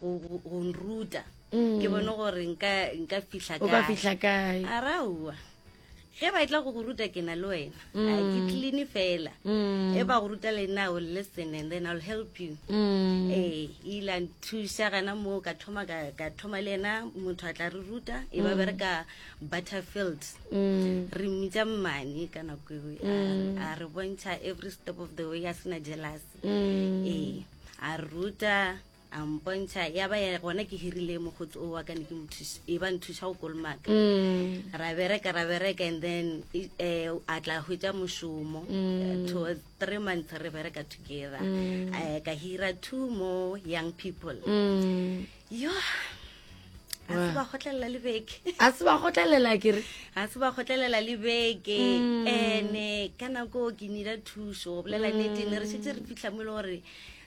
go go nruta mm. ke bone gore nka nka fihla kae o ka fihla kae araua ge ba tla go go ruta ke na le wena mm. a ke clean fela mm. e ba go ruta le nna will listen and then I'll help you mm. eh ile a nthuša gana moo ka thoma ka ka thoma le ena motho a tla re ruta e ba mm. bereka Butterfield mm. re mmitša mmane ka nako eo mm. a re bontšha every step of the way a sena jealous mm. ee a re ruta a mpontšha ya ba ya gona ke hirile mokgotsi o wa ka ne ke mothuša e ba nthuša go kolomaka mm. ra bereka ra bereka and then eh, a tla hwetša mošomo mm. towards three months re bereka together mm. eh, ka hira two more young people mm. yo a se ba kgotlelela le beke a se ba kgotlelela ke re a se ba kgotlelela le beke Mm. ene ka nako ke nida thuso go bolela nnete ne re šetse re fitlha mo e le gore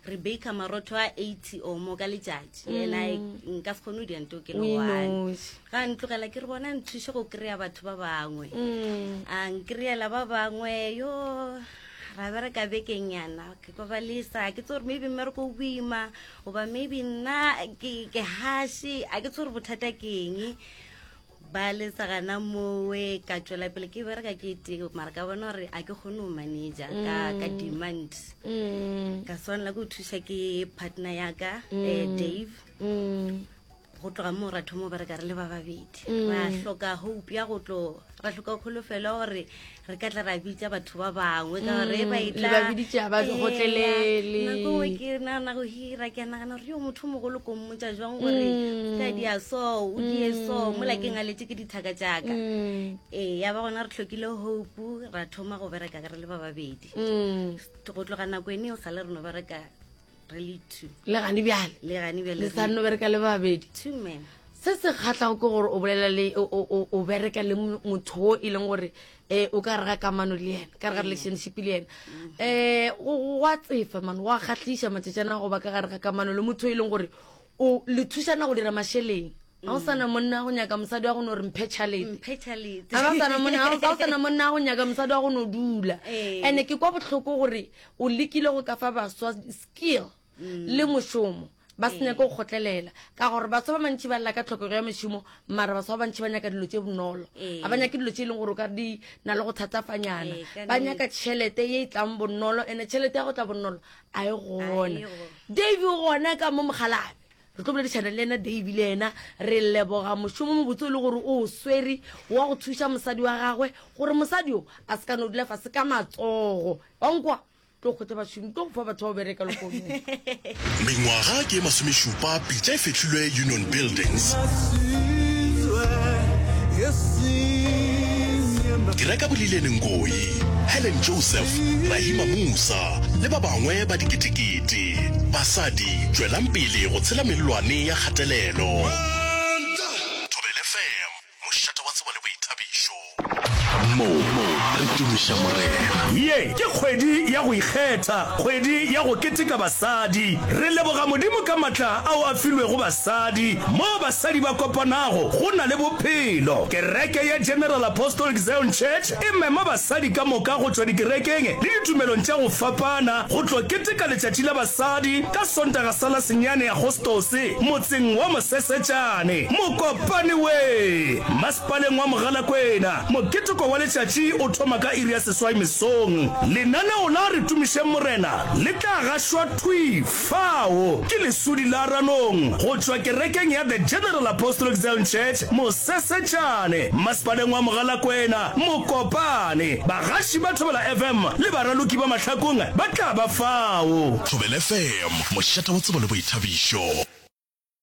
re baker marotho a 80 or mo ka letšatši ena nka se kgone go dianto ke le O one inoši. ga ntlogela ke re bona nthuše go kry-a batho ba bangwe Mm. a nkry-ela ba bangwe yo ra bereka bekenyana ke kwa ba lesa ke tse gore maybe mmereko o boima goba maybe nna ke ke hashe a ke tse gore bothata ke eng ba lesa gana mowe ka tswela pele ke bereka ke tee mara ka bona gore a ke kgone go manager ka, ka demand Mm. ka swanela ke go thuša ke partner yaka mm. eh, dave Mm. go tloga moo ra thoma go bereka re le ba babedi ra hloka hope ya go tlo ra hloka kholofelo gore re ka tla ra bitša batho ba bangwe ka gore ba Le ba biditše, ha ba kgotlelele. nako nngwe ke nagana go hira ke a nagana gore yo motho o mogolo ko mmotsa jwang gore ka dia so o die so mola ke ngaletše ke dithaka jaaka ee ya ba gona re tlhokile hope ra thoma go bereka re le ba babedi go tloga nako ene o sale re no bereka re le two le gane bjale le gane bjale le sa nno bereka le babedi two men se se kgatlhago ke gore o bolela le o bereka le motho o e leng gore um o ka re ga kamano le yena ka re ga relationship le yena um go a tsefa mane go a kgatlhiša matšatšana go ba ka gare ga kamano le motho o e leng gore o le thušana go dira mašeleng ga o sana monna go nyaka mosadi wa go no re mphe tšhalete ga o sana monna go nyaka mosadi wa go no dula and-e ke kwa bohloko gore o lekile go ka fa baswa skill mm. le mošomo ba se nyake go kgotlelela ka gore baswa ba mantši ba lla ka tlhokego ya mešomo mara baswa ba bantši ba nyaka dilo tše bonolo ga ba nyake dilo tše e leng gore o ka di na le go thatafanyana ba nyaka tšhelete ye e tlang bonolo and-e tšhelete ya go tla bonolo a e gona dave o gona ka mo mogalabe Re tlo boledišana le yena Davey le yena re leboga mošomo mobotse o le gore o o swere wa go thuša mosadi wa gagwe gore mosadi o a se ka no dula fase ka matsogo. Wa nkwa? Tlo kgwetša bašomi, tlo go fa batho ba go bereka lehono. Mengwaga ke e masomešupa pitša e fehlilwe Union Buildings. Dira ka Bolilene Ngoyi, Helen Joseph, Rahima Moosa le ba bangwe ba diketekete. Basadi, tšwelang pele go tshela mellwane ya kgatelelo. Thobela FM, mošate wa tsebo le boithabišo. Mo re tumiša Morena. Ye ke kgwedi ya go ikgetha, kgwedi ya go keteka basadi. Re leboga Modimo ka matla ao a filwego basadi. Moo basadi ba kopanago, go na le bophelo. Kereke ya General Apostolic Zion Church e mema basadi ka moka go tšwa dikerekeng le ditumelong tša go fapana go tlo keteka Letšatši la Basadi ka Sontaga sa la senyane Agostose motseng wa Mosesetšane, Mokopane we! Masepaleng wa Mogalakwena. Moketeko wa letšatši o thoma ka iri ya seswai mesong. Lenaneo la Re Tumišeng Morena le tla gašwa thwi fao ke Lesodi la Ranong go tšwa kerekeng ya The General Apostolic Zion Church, Mosesetšane, Masepaleng wa Mogalakwena, Mokopane. Bagaši ba Thobela FM le baraloki ba Mahlakong ba tla ba fao. Thobela FM, mošate wa tsebo le boithabišo.